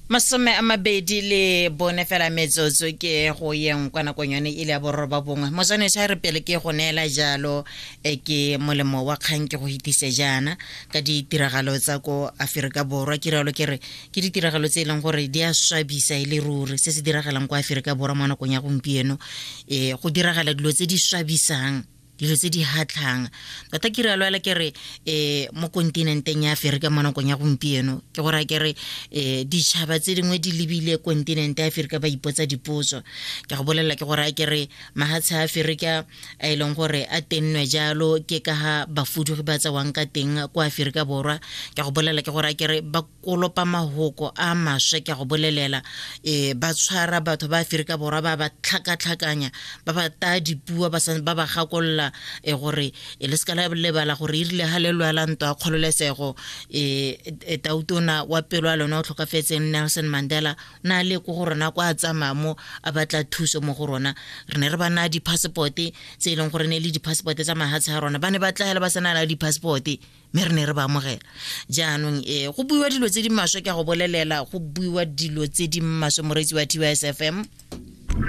24 fela metsotso ke go yeng kwa nakong yone e le ya boroba bongwe. Motswanetso, a re pele ke go neela jalo ke molemo wa kgang, ke go hitise jaana ka ditiragalo tsa ko Aforika Borwa. Ke rialo ke re ke ditiragalo tse e leng gore di a swabisa e le ruri. Se se diragalang kwa Aforika Borwa mo nakong ya gompieno, go diragala dilo tse di swabisang, dilo tse di hatlhang tota. Ke rialo ela ke re mo kontinenteng ya Aforika mo nakong ya gompieno, ke gore ke re ditšhaba tse dingwe di lebile kontinente ya Aforika, ba ipotsa dipotso. Ke go bolelela ke gore ke re mahatshe a Aforika a e leng gore a tennwe jalo ke ka ga bafudugi ba tsewang ka teng kwa Aforika Borwa. Ke go bolelela ke gore ke re ba kolopa mahoko a maswe. Ke go bolelela, ba tshwara batho ba Aforika Borwa, ba ba tlhakatlhakanya, ba ba taya dipuo, ba ba gakolola gore le seka la lebala gore e rile ga le lwela ntwa ya kgololesego, tautona wa pelo ya lona o tlhokafetseng, Nelson Mandela, o na le ko go rona kwa a tsamaya mo a batla thuso mo go rona. Re ne re ba naya di-passport tse e leng gore ne e le di-passport tsa mahatshe a rona. Ba ne ba tlagela ba sena la di-passport, mme re ne re ba amogela. Jaanong go buiwa dilo tse di maswe. Ke a go bolelela, go buiwa dilo tse di maswe, moreetsi wa TYSFM.